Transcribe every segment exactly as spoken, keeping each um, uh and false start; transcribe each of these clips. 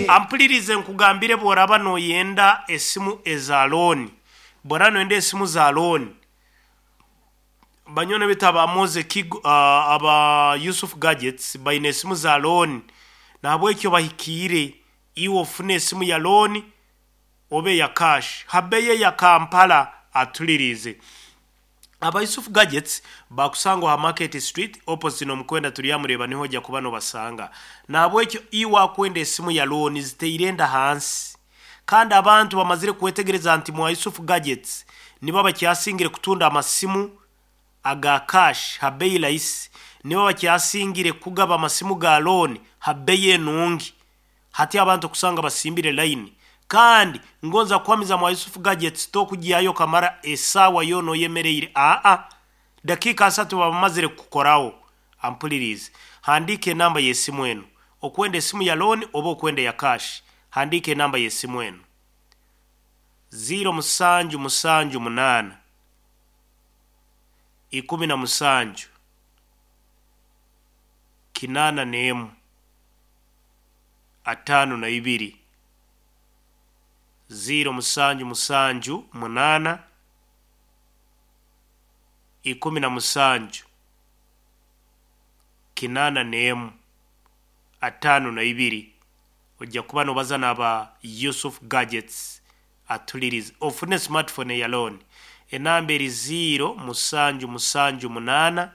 Ampulirize nkugambire, bw'oraba noyenda esimu eza loan, bw'oraba noyenda esimu za loan, banywani bitu aba Moze Kigo, uh, aba Yusuf Gadgets baine esimu za loan. Nahabwekyo bahikiire iwe ofune esimu ya loan obe ya cash habeye ya Kampala. Atulirize, aba Yusuf Gadgets bakusangwa ha Market Street, opposite n'omukwenda turyamureba, niho ojja kuba nobasanga. Nahabwekyo iwe akwenda esimu ya loan, ziteire enda hansi, kandi abantu bamazire kwetegereza nti mwa Yusuf Gadgets nibo bakyasingire kutunda amasimu aga cash ha bei rahisi, nibo bakyasingire kugaba amasimu ga loan ha bei enungi. Hati abantu kusanga basimbire line, kandi ngonza kuhamiza, mwa Yusuf Gadgets tokugyayo kamara esaawa yoona oyemereire. Aa, dakiika asatu bamazire kukoraho. Ampulirize, handika enamba y'esimu eno. Okwenda esimu ya loan oba okwenda ya cash, handika enamba y'esimu eno: zero musanju musanju munaana ikumi na musanju kinaana n'emu ataano na ibiri, zero musanju musanju munaana ikumi na musanju kinaana n'emu ataano na ibiri. Ojja kuba nobaza n'aba Yusuf Gadgets. Atulirize, ofune smartphone ya loan, enamba eri zero musanju musanju munaana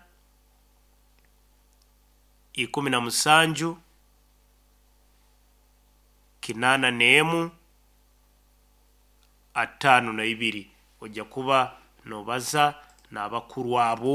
ikumi na musanju kinaana n'emu ataano na ibiri. Ojja kuba nobaza n'abakuru abo.